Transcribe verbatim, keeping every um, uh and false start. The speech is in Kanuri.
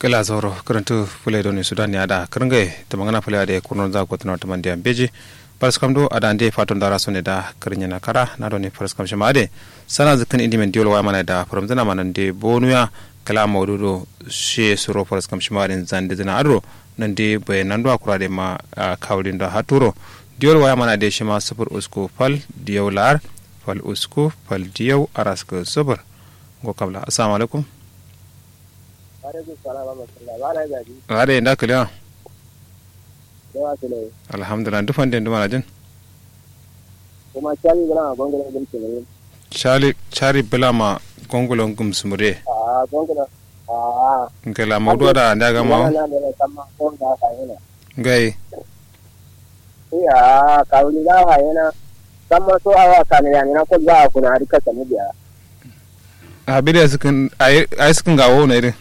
Gla zauro kǝrǝntǝ fǝle done sudan ya da kǝrǝngaye tǝmangǝna fǝle adǝ ye kurno za gotǝna tǝmandiya mbeji. Faraskam do adande fato ndara sone da kǝrǝnyena kara na done faraskam shima adǝ ye sana zǝkkǝn indimen diwol waya mana da fǝrǝmzǝna ma nande bonuya. Kǝla maudu do shiye suro faraskam shima adǝ ye zandǝzǝna adǝ ro nande baye nanduwa kura adǝ ye ma kawulin do haturo. Diwol waya mana adǝ ye shima sufur usku fal diyau la'ar fal usku fal diyau araskǝ sufur. Ngo kabla assalamu alaikum. Alaikum salam wa rahmatullah. Ba na gaji. Ba da yanda kalewa. Yawa kale. Alhamdulillah duk fande duk manajin. Kuma shali bula ma gongolo gum sumure. Shali shali bula ma gongolo gum sumure. Ah gongolo. Ah. Ngela maudu da nda gama. Ngela na da samma ko da ka yana. Ngai. Iya kawuli za a hayena. Samma so awa kane yamina kol za a kuna adi kasani biya. A bidi a sikin a yi sikin gawo na idin.